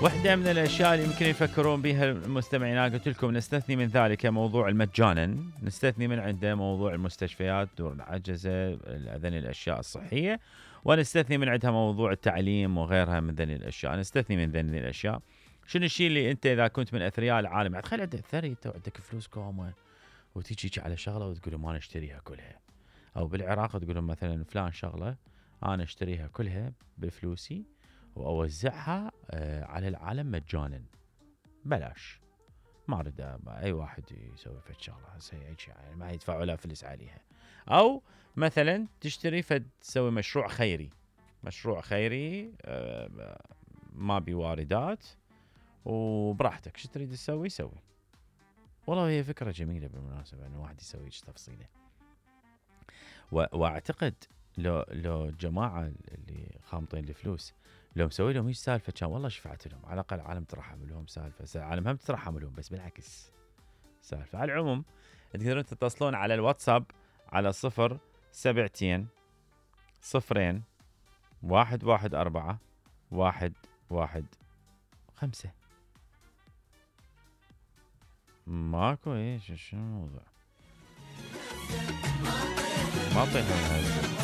واحدة من الأشياء اللي يمكن يفكرون بها المستمعين، أنا قلت لكم نستثني من ذلك موضوع المجانا، نستثني من عنده موضوع المستشفيات، دور العجزة، هذين الأشياء الصحية، ونستثني من عندها موضوع التعليم وغيرها من ذني الأشياء. نستثني من ذني الأشياء. شنو الشيء اللي أنت إذا كنت من أثرياء العالم، تخيل عندك ثري أنت وعندك فلوس كومة وتيجي على شغلة وتقول ما نشتريها كلها، أو بالعراق تقول مثلا فلان شغلة أنا أشتريها كلها بفلوسي وأوزعها على العالم مجانا بلاش، ما أريد أي واحد يسوي فد شغلة يعني ما يدفعوا له فلس عليها. أو مثلا تشتري تسوي مشروع خيري، مشروع خيري ما بواردات وبراحتك شو تريد تسوي سوي. والله هي فكرة جميلة بالمناسبة أن واحد يسوي تفصيله. واعتقد لو جماعة اللي خامطين الفلوس لو مسوي لهم ايش سالفة كان والله شفعت لهم، على الأقل العالم ترحم لهم سالفة، العالم هم ترحم لهم بس بالعكس سالفة. على العموم تقدرون تتصلون على الواتساب على 072 0 114 115. ماكو ايش شنو الموضوع؟ ما طينا